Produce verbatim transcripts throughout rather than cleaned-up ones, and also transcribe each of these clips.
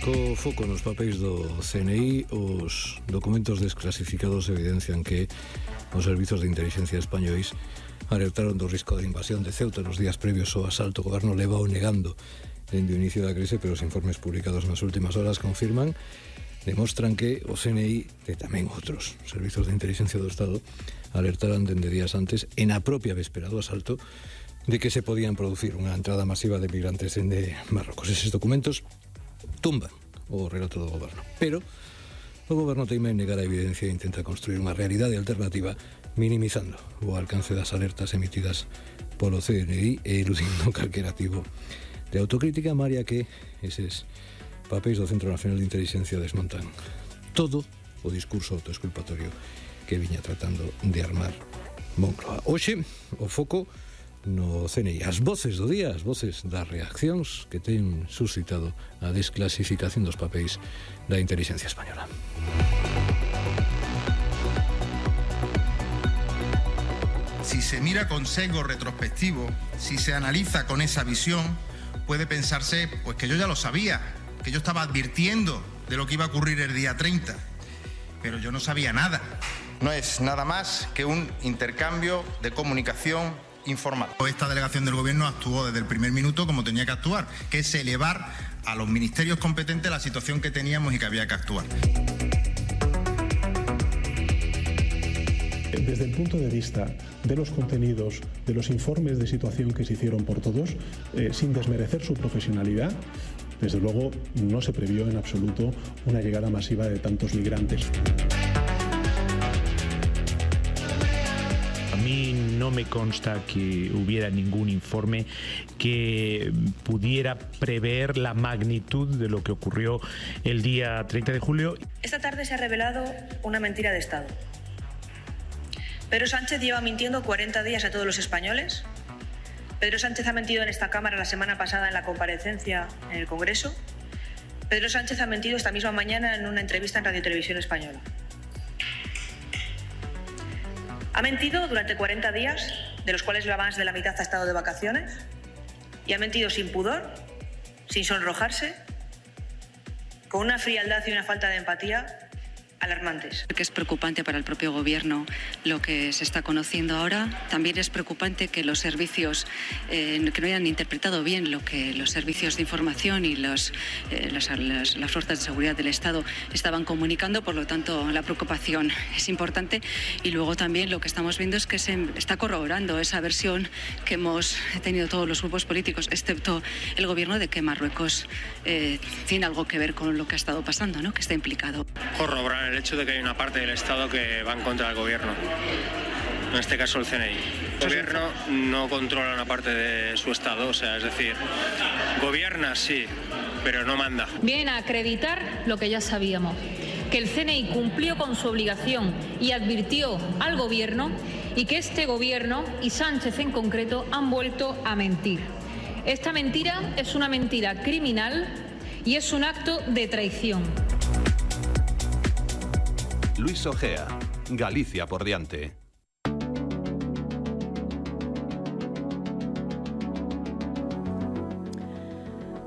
Co foco nos papéis do C N I, os documentos desclasificados evidencian que os servizos de inteligencia españois alertaron do risco de invasión de Ceuta nos días previos ao asalto. O goberno levao negando dende o inicio da crise, pero os informes publicados nas últimas horas confirman, demostran que o C N I e tamén outros servizos de inteligencia do Estado alertaran dende días antes, en a propia véspera do asalto, de que se podían producir unha entrada masiva de migrantes dende Marrocos. Eses documentos tumban o relato do goberno, pero o goberno teima en negar a evidencia e intenta construir unha realidade alternativa minimizando o alcance das alertas emitidas polo C N I e eludindo calquera tipo de autocrítica, María, que eses papéis do Centro Nacional de Inteligencia desmontan todo o discurso autoexculpatorio que viña tratando de armar Moncloa. Hoxe, o foco no C N I, as voces do día, as voces das reaccións que ten suscitado a desclasificación dos papéis da inteligencia española. Si se mira con sesgo retrospectivo, si se analiza con esa visión, puede pensarse pues que yo ya lo sabía, que yo estaba advirtiendo de lo que iba a ocurrir el día treinta, pero yo no sabía nada. No es nada más que un intercambio de comunicación informal. Esta delegación del gobierno actuó desde el primer minuto como tenía que actuar, que es elevar a los ministerios competentes la situación que teníamos y que había que actuar. Desde el punto de vista de los contenidos, de los informes de situación que se hicieron por todos, eh, sin desmerecer su profesionalidad, desde luego no se previó en absoluto una llegada masiva de tantos migrantes. A mí no me consta que hubiera ningún informe que pudiera prever la magnitud de lo que ocurrió el día treinta de julio. Esta tarde se ha revelado una mentira de Estado. Pedro Sánchez lleva mintiendo cuarenta días a todos los españoles. Pedro Sánchez ha mentido en esta Cámara la semana pasada en la comparecencia en el Congreso. Pedro Sánchez ha mentido esta misma mañana en una entrevista en Radio Televisión Española. Ha mentido durante cuarenta días, de los cuales más de la mitad ha estado de vacaciones, y ha mentido sin pudor, sin sonrojarse, con una frialdad y una falta de empatía alarmantes. Que es preocupante para el propio gobierno lo que se está conociendo ahora. También es preocupante que los servicios eh, que no hayan interpretado bien lo que los servicios de información y los, eh, las, las, las fuerzas de seguridad del Estado estaban comunicando. Por lo tanto, la preocupación es importante. Y luego también lo que estamos viendo es que se está corroborando esa versión que hemos tenido todos los grupos políticos, excepto el gobierno, de que Marruecos eh, tiene algo que ver con lo que ha estado pasando, ¿no? Que está implicado. Corroborar el hecho de que hay una parte del Estado que va en contra del gobierno, en este caso el C N I. El gobierno no controla una parte de su Estado, o sea, es decir, gobierna sí, pero no manda. Vienen a acreditar lo que ya sabíamos, que el C N I cumplió con su obligación y advirtió al gobierno, y que este gobierno y Sánchez en concreto han vuelto a mentir. Esta mentira es una mentira criminal y es un acto de traición. Luis Ojea, Galicia por diante.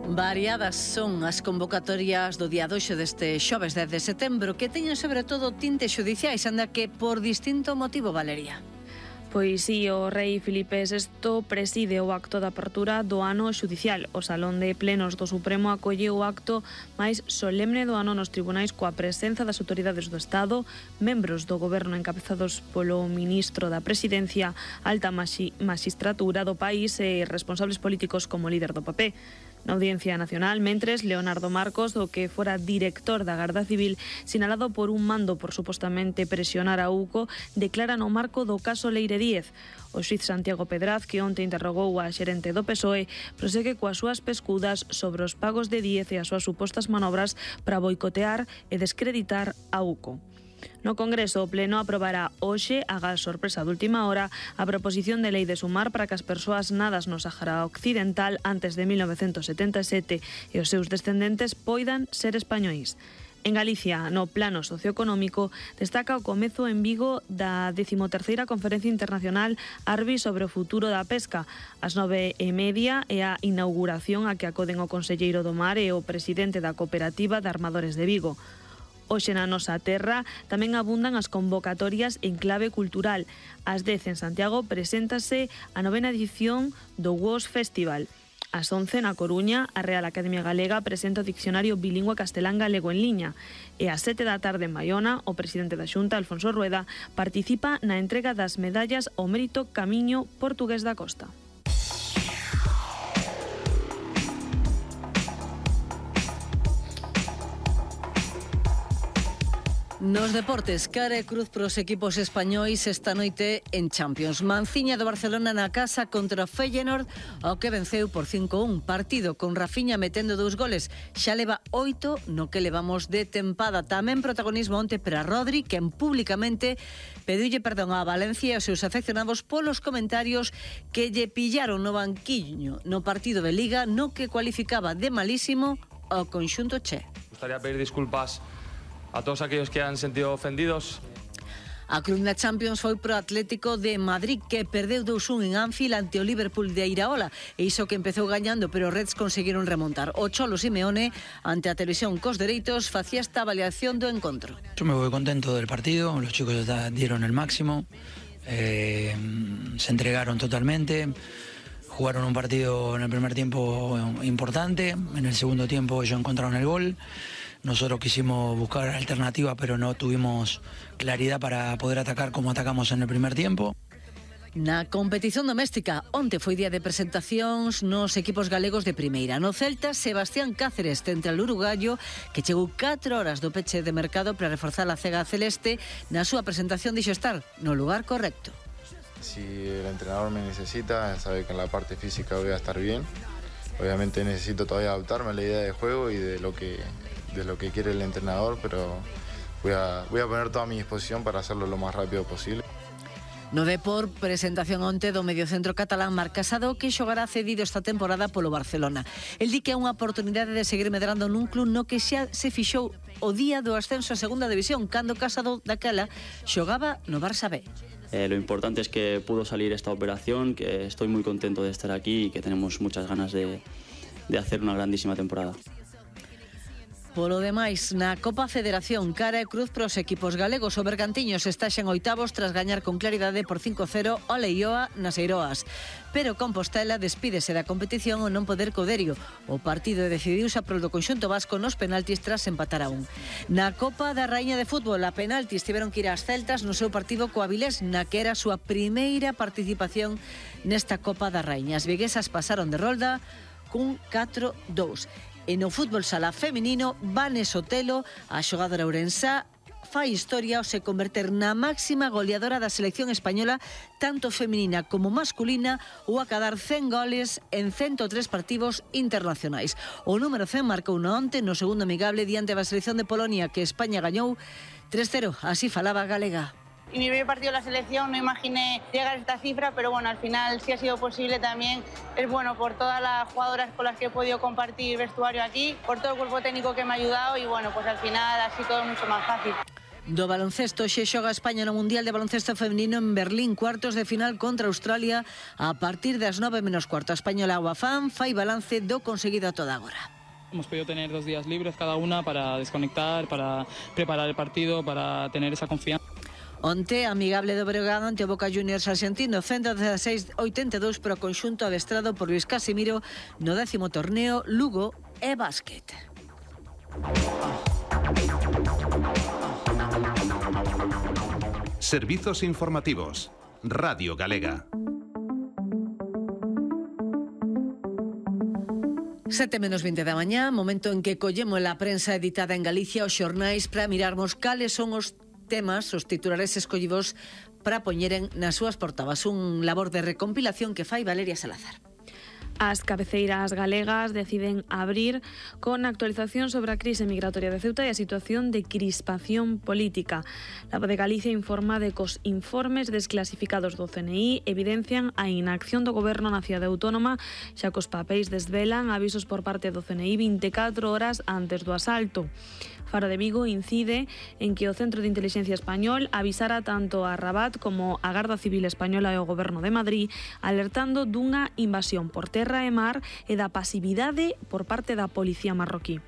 Variadas son as convocatorias do día doce deste xoves dez de setembro, que teñen sobre todo tintes xudiciais, anda que por distinto motivo, Valeria. Pois sí, o rei Filipe sexto preside o acto de apertura do ano xudicial. O Salón de Plenos do Supremo acolleu o acto máis solemne do ano nos tribunais, coa presenza das autoridades do Estado, membros do goberno encabezados polo ministro da Presidencia, alta magistratura do país e responsables políticos como líder do P P. Na Audiencia Nacional, mentres, Leonardo Marcos, do que fora director da Garda Civil, sinalado por un mando por supostamente presionar a UCO, declara no marco do caso Leire Díez. O xuiz Santiago Pedraz, que onte interrogou a xerente do P S O E, prosegue coas súas pescudas sobre os pagos de Díez e as súas supostas manobras para boicotear e descreditar a UCO. No Congreso, o Pleno aprobará hoxe, agás sorpresa de última hora, a proposición de lei de sumar para que as persoas nadas no Sáhara Occidental antes de mil novecentos setenta e sete e os seus descendentes poidan ser españois. En Galicia, no plano socioeconómico, destaca o comezo en Vigo da decimoterceira Conferencia Internacional Arbi sobre o futuro da pesca. Ás nove e media é a inauguración a que acoden o conselleiro do Mar e o presidente da Cooperativa de Armadores de Vigo. Hoxe na nosa terra tamén abundan as convocatorias en clave cultural. Ás dez en Santiago preséntase a novena edición do W O S Festival. Ás once na Coruña, a Real Academia Galega presenta o Diccionario Bilingüe Castelán-Galego en liña. E ás sete da tarde en Baiona, o presidente da Xunta, Alfonso Rueda, participa na entrega das medallas ao mérito Camiño Portugués da Costa. Nos deportes, cara e cruz pros equipos españois esta noite en Champions. Manciña do Barcelona na casa contra o Feyenoord, ao que venceu por cinco a un. Partido con Rafinha metendo dous goles. Xa leva oito no que levamos de tempada. Tamén protagonismo onte para Rodri, quen públicamente pediulle perdón a Valencia e aos seus afeccionados polos comentarios que lle pillaron no banquiño no partido de Liga, no que cualificaba de malísimo ao conxunto che. Gustaría pedir disculpas a todos aquellos que han sentido ofendidos. A cruz na Champions foi pro Atlético de Madrid, que perdeu dous a un en Anfield ante o Liverpool de Iraola, e iso que empezou gañando, pero os Reds conseguiron remontar. O Cholo Simeone, ante a televisión cos dereitos, facía esta avaliación do encontro. Yo me voy contento del partido, los chicos dieron el máximo, eh, se entregaron totalmente, jugaron un partido en el primer tiempo importante, en el segundo tiempo ellos encontraron el gol. Nosotros quisimos buscar alternativas, pero no tuvimos claridad para poder atacar como atacamos en el primer tiempo. Na competición doméstica, onte foi día de presentacións nos equipos galegos de primeira. No Celta, Sebastián Cáceres tente al uruguayo, que chegou catro horas do peche de mercado para reforzar a cega celeste. Na súa presentación dixo estar no lugar correcto. Si el entrenador me necesita, sabe que en la parte física voy a estar bien. Obviamente necesito todavía adaptarme a la idea de juego y de lo que... de lo que quiere el entrenador, pero voy a, voy a poner toda mi disposición para hacerlo lo más rápido posible. No Depor, presentación onte do mediocentro catalán Marc Casado, que xogará cedido esta temporada polo Barcelona. El di que é unha oportunidade de seguir medrando nun club no que xa se fixou o día do ascenso a segunda división, cando Casado daquela xogaba no Barça B. Eh, lo importante es que pudo salir esta operación, que estoy muy contento de estar aquí y que tenemos muchas ganas de, de hacer una grandísima temporada. Polo demais, na Copa Federación, cara e cruz pros equipos galegos. O Bergantiños está xa en oitavos tras gañar con claridade por cinco a cero ao Leioa nas Eiroas. Pero Compostela despídese da competición ao non poder co Derio. O partido decidiuse a prol do conxunto vasco nos penaltis tras empatar a un. Na Copa da Raíña de Fútbol, a penaltis tiveron que ir ás Celtas no seu partido co Avilés, na que era a súa primeira participación nesta Copa da Raíña. As viguesas pasaron de rolda cun catro a dous. E no fútbol sala feminino, Vane Sotelo, a xogadora ourensá, fai historia ao se converter na máxima goleadora da selección española, tanto feminina como masculina, ou a cadar cen goles en ciento tres partidos internacionais. O número cen marcou no onte no segundo amigable diante da selección de Polonia, que España gañou tres cero, así falaba galega. Y mi primer partido de la selección no imaginé llegar a esta cifra, pero bueno, al final sí ha sido posible también. Es bueno por todas las jugadoras con las que he podido compartir vestuario aquí, por todo el cuerpo técnico que me ha ayudado y bueno, pues al final ha sido todo mucho más fácil. Do baloncesto, xe xoga España no Mundial de Baloncesto Femenino en Berlín, cuartos de final contra Australia a partir das nove menos cuarto. A española Guafán fai balance do conseguido a toda agora. Hemos podido tener dos días libres cada una para desconectar, para preparar el partido, para tener esa confianza. Onte, amigable do Breogán ante o Boca Juniors argentino, ciento dieciséis a oitenta e dous para o conxunto adestrado por Luis Casimiro no décimo torneo Lugo e Básquet. Servizos informativos. Radio Galega. Sete menos vinte da mañá, momento en que collemos a prensa editada en Galicia os xornais para mirarmos cales son os temas, os titulares escollidos para poñeren nas súas portadas. Un labor de recompilación que fai Valeria Salazar. As cabeceiras galegas deciden abrir con actualización sobre a crise migratoria de Ceuta e a situación de crispación política. La Voz de Galicia informa de que os informes desclasificados do C N I evidencian a inacción do goberno na cidade autónoma, xa que os papéis desvelan avisos por parte do C N I vinte e catro horas antes do asalto. Faro de Vigo incide en que o Centro de Inteligencia Español avisara tanto a Rabat como a Garda Civil Española e o Goberno de Madrid alertando dunha invasión por terra e mar e da pasividade por parte da policía marroquí.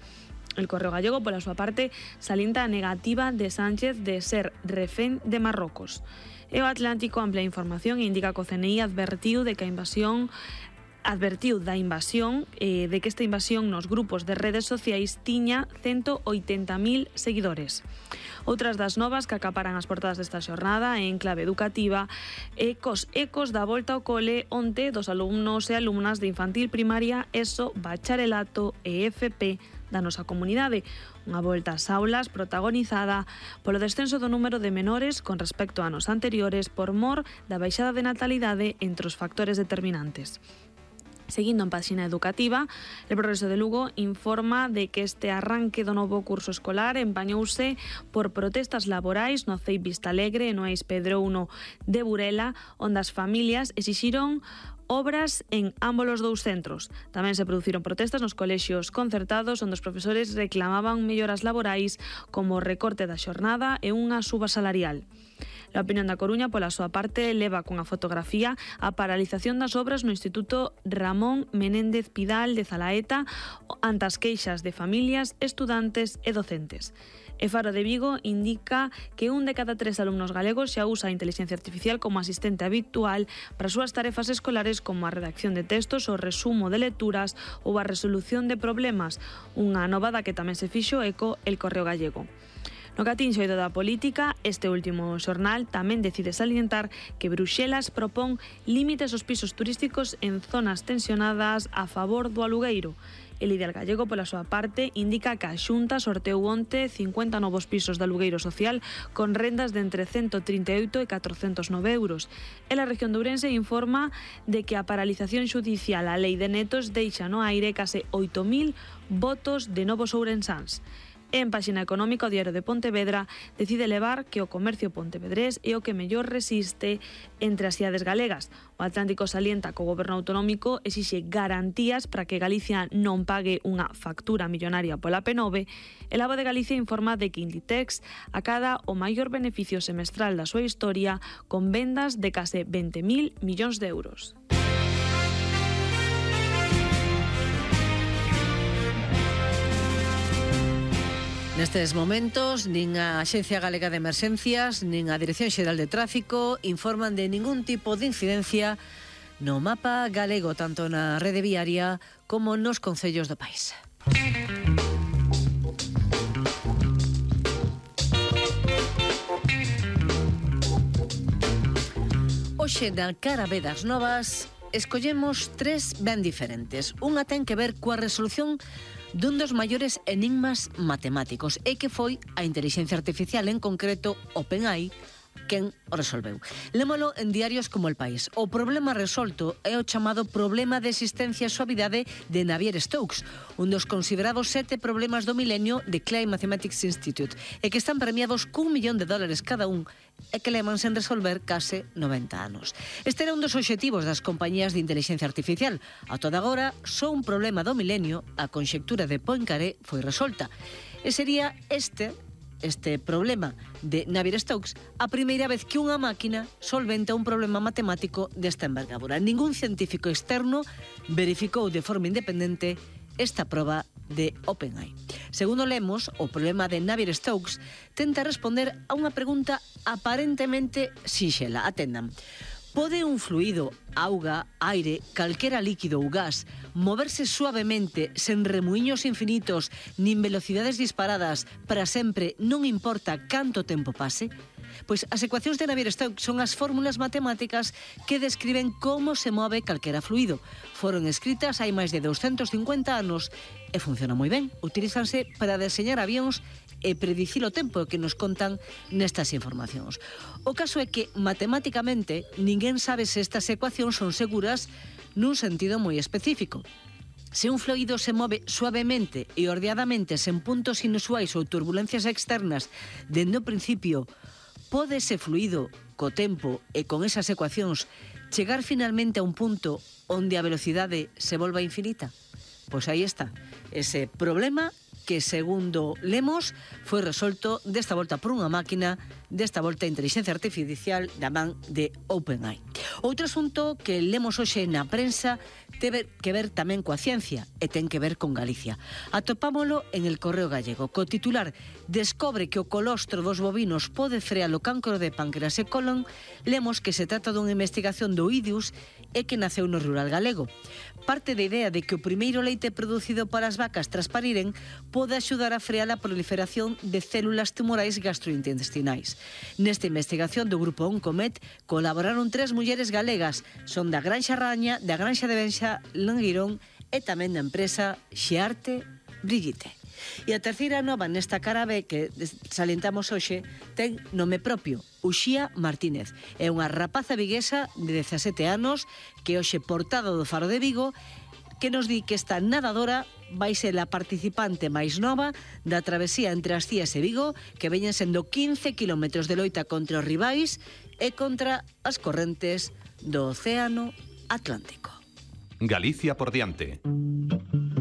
El Correo Gallego, pola súa parte, salienta a negativa de Sánchez de ser refén de Marrocos. E o Atlántico amplia a información e indica que o C N I advertiu de que a invasión advertiu da invasión, eh, de que esta invasión nos grupos de redes sociais tiña ciento oitenta mil seguidores. Outras das novas que acaparan as portadas desta xornada en clave educativa e cos ecos da volta ao cole onte dos alumnos e alumnas de infantil primaria, ESO, bacharelato e F P da nosa comunidade. Unha volta ás aulas protagonizada polo descenso do número de menores con respecto a anos anteriores por mor da baixada de natalidade entre os factores determinantes. Seguindo en páxina educativa, el Progreso de Lugo informa de que este arranque do novo curso escolar empañouse por protestas laborais no C E I Vista Alegre e no Eis Pedrouno de Burela, onde as familias exixiron obras en ambos os dous centros. Tamén se produciron protestas nos colexios concertados onde os profesores reclamaban melloras laborais como o recorte da xornada e unha suba salarial. A Opinión da Coruña, pola súa parte, leva cunha fotografía a paralización das obras no Instituto Ramón Menéndez Pidal de Zalaeta ante as queixas de familias, estudantes e docentes. E Faro de Vigo indica que un de cada tres alumnos galegos xa usa a inteligencia artificial como asistente habitual para as súas tarefas escolares como a redacción de textos, o resumo de lecturas ou a resolución de problemas, unha novada que tamén se fixo eco el Correo Gallego. No que atinxe o eido da política, este último xornal tamén decide salientar que Bruxelas propón límites aos pisos turísticos en zonas tensionadas a favor do alugueiro. El Ideal Gallego, pola súa parte, indica que a Xunta sorteou onte cincuenta novos pisos de alugueiro social con rendas de entre ciento trinta e oito e catrocentos nove euros. E a región de Ourense informa de que a paralización xudicial á lei de netos deixa no aire case oito mil votos de novos ourensáns. En páxina económica, o Diario de Pontevedra decide levar que o comercio pontevedrés é o que mellor resiste entre as cidades galegas. O Atlántico salienta que o goberno autonómico exixe garantías para que Galicia non pague unha factura millonaria pola P nove. El Abo de Galicia informa de que Inditex acada o maior beneficio semestral da súa historia con vendas de case veinte mil millóns de euros. Nestes momentos, nin a Axencia Galega de Emerxencias, nin a Dirección Xeral de Tráfico informan de ningún tipo de incidencia no mapa galego, tanto na rede viaria como nos concellos do país. Hoxe, na cara B das novas, escollemos tres ben diferentes. Unha ten que ver coa resolución dun dos maiores enigmas matemáticos e que foi a inteligencia artificial, en concreto OpenAI, quen o resolveu. Lémolo en diarios como El País. O problema resolto é o chamado problema de existencia e suavidade de Navier-Stokes, un dos considerados sete problemas do milenio de Clay Mathematics Institute, e que están premiados cun millón de dólares cada un e que levan sen resolver case noventa anos. Este era un dos obxectivos das compañías de inteligencia artificial. A toda agora, só un problema do milenio, a conxectura de Poincaré, foi resolta. E sería este este problema de Navier-Stokes a primeira vez que unha máquina solventa un problema matemático desta envergadura. Ningún científico externo verificou de forma independente esta proba de OpenAI. Segundo lemos, o problema de Navier-Stokes tenta responder a unha pregunta aparentemente sinxela. Atendan. Pode un fluido, auga, aire, calquera líquido ou gas, moverse suavemente, sen remuiños infinitos, nin velocidades disparadas, para sempre, non importa canto tempo pase? Pois as ecuacións de Navier-Stokes son as fórmulas matemáticas que describen como se move calquera fluido. Foron escritas hai máis de doscientos cincuenta anos e funcionan moi ben. Utilízanse para deseñar avións e predicir o tempo que nos contan nestas informacións. O caso é que, matemáticamente, ninguén sabe se estas ecuacións son seguras nun sentido moi específico. Se un fluido se move suavemente e ordeadamente sen puntos inusuais ou turbulencias externas dende o principio, pode ese fluido, co tempo e con esas ecuacións, chegar finalmente a un punto onde a velocidade se volva infinita? Pois aí está, ese problema que, segundo Lemos, foi resolto desta volta por unha máquina, desta volta a inteligencia artificial da man de OpenAI. Outro asunto que lemos hoxe na prensa ten que ver tamén coa ciencia e ten que ver con Galicia. Atopámolo en el Correo Gallego, co titular "Descobre que o colostro dos bovinos pode frear o cancro de páncreas e colon", lemos que se trata dunha investigación do I D I U S e que naceu no rural galego. Parte da idea de que o primeiro leite producido para as vacas tras pariren pode axudar a frear a proliferación de células tumorais gastrointestinais. Nesta investigación do grupo Oncomet colaboraron tres mulleres galegas, son da Granxa Raña, da Granxa de Benxa Languirón e tamén da empresa Xearte Brigitte. E a terceira nova nesta cara B que salientamos hoxe ten nome propio, Uxía Martínez. É unha rapaza viguesa de dezasete anos que hoxe portada do Faro de Vigo que nos di que esta nadadora vai ser a participante máis nova da travesía entre as Cías e Vigo, que veñen sendo quince kilómetros de loita contra os rivais e contra as correntes do Océano Atlántico. Galicia por diante.